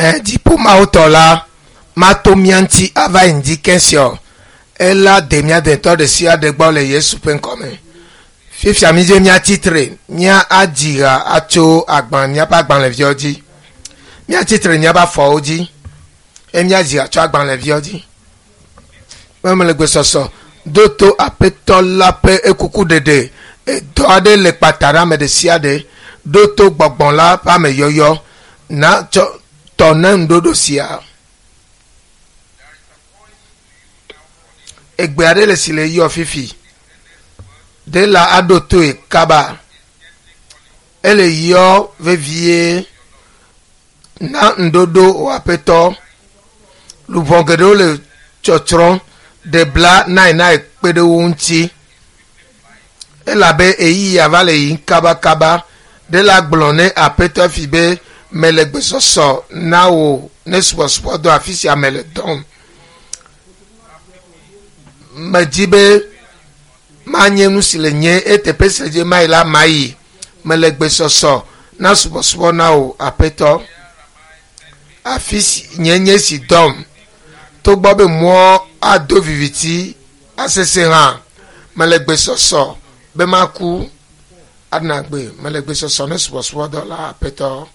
Ɛ dziƒo Mawu tɔ la mato mía ŋuti ava yi ŋdi kɛsiɔ ela de mía detɔ ɖe sia ɖe gbɔ le Yesu ƒe ŋkɔme. Fifia mi dze mía tsitre mía adzi ha atso agbalẽ míaƒe agbalẽviawo dzi. Mía tsitre míaƒe afɔwo dzi eye míadzi ha tso agbalẽviawo dzi. Mele gbesɔsɔ do to aƒetɔ la ƒe ekuku ɖeɖe edɔ aɖe le kpata ɖe ame ɖe sia ɖe ɖo to gbɔgbɔ la ƒe ameyɔyɔ na tsɔ tɔ ne ŋuɖoɖo sia. Egbe aɖe le si le yɔ fifi. Ɖe la aɖo toe kaba. Ele yɔ vevie na ŋuɖoɖo wò aƒetɔ. Luʋɔ geɖewo le tsɔtsrɔ̃ ɖe bla nainae kpe ɖe wo ŋuti. Elabe ɣeyiɣi ava le yiyim kabakaba. Ɖe la gblɔ ne aƒetɔ fi be mele gbesɔsɔ na wò ne subɔsubɔdɔ afi sia mele dɔm. Medzi be manye nu si le nye eteƒe si le dzi mayi la mayi. Mele gbesɔsɔ na subɔsubɔ na wò aƒetɔ. Afi si nye nye si dɔm. Togbɔ be mɔ ado viviti asese hã mele gbesɔsɔ be maku adna gbe mele gbesɔsɔ ne subɔsubɔdɔ la aƒetɔ.